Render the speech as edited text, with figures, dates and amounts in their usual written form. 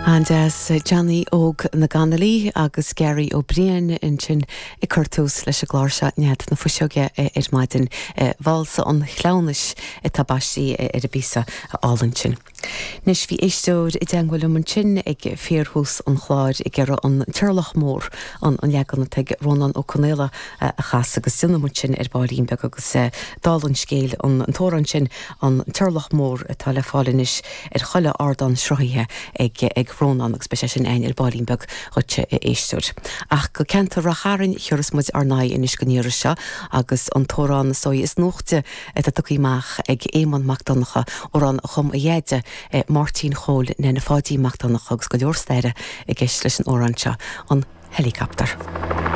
An-deas. Johnny Óg na gConnolly agus Gary Ó Briain ansin ag cur tús leis an gclár seo Nead na Fuiseoige ar maidin. Válsa an Chleamhnais atá baistí ar an bpíosa álainn sin. Anois bhí éisteoir i dteangmháil liom ansin ag fíorthús an chláir ag iarraidh an Turlach Mór, an leagan atá ag Rónán Ó Conaola a chasadh agus déanfaidh muid sin ar baillín beag agus dála an scéil an t-amhrán sin An Turlach Mór atá le fáil anois ar chuile ardán sruthaithe ag ag Rónán agus beidh sé sin againn ar baillín beag dhuitse a éisteoir. Ach go ceantar Ráth Chairn a thiúrfas muid ár n-aghaidh anois den iarraidh seo agus an t-amhrán is dóigh is nuachta atá tugtha amach ag Éamonn Mac Donncha, amhrán a chum a dheaide, Máirtín Chóil Nene Pháidí Mac Donncha agus go leor staire i gceist leis an amhrán seo, an Helicopter.